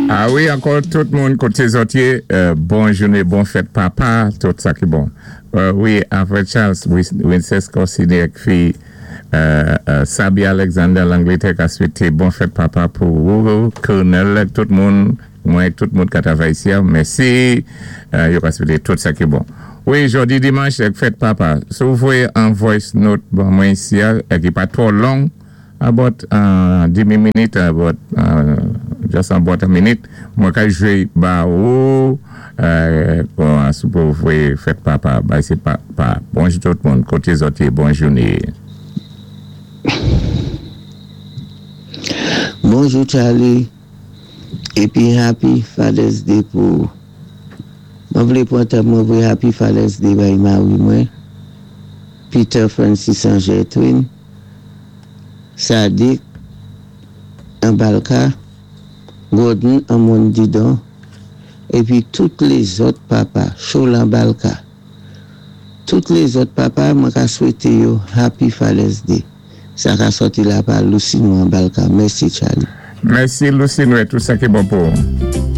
A wi, ankò tout moun koté zòt yé, bon jouné, bon fèt papa, tout sa ki bon. Wi, Alfred Charles, Wincès Corsini ak fi Sabi Alexander Langlétè ka swété bon fèt papa pou ou, Colonel ak tout moun, mwen ak tout moun ka travay isi a. Mèsi. Yo ka swété tout sa ki bon. Wi, jòdi dimanch ak fèt papa. Si ou voyé an voice note ban mwen isi a, ki pa twò long, about demi minit, about just about a minute, mwen ka jwé ba ou bon si pou voyé fèt papa bay se papa. Bonjou tout moun, koté zòt yé, bon jouné. Bonjou Charly épi happy Father's Day pou ou. Mwen vlé pwan tan mwen voyé happy Father's Day bay mari mwen Peter Francis Angertwin Sadik an Balka, Gordon an Mòn Didon, épi tout lézòt papa, Cholan Balka. Tout lézòt papa mwen ka swété yo Happy Father's Day. Sa ka sòti la pa Lucino an Balka. Mèsi Charly. Mèsi Lucino e tout sa ki bon pou ou.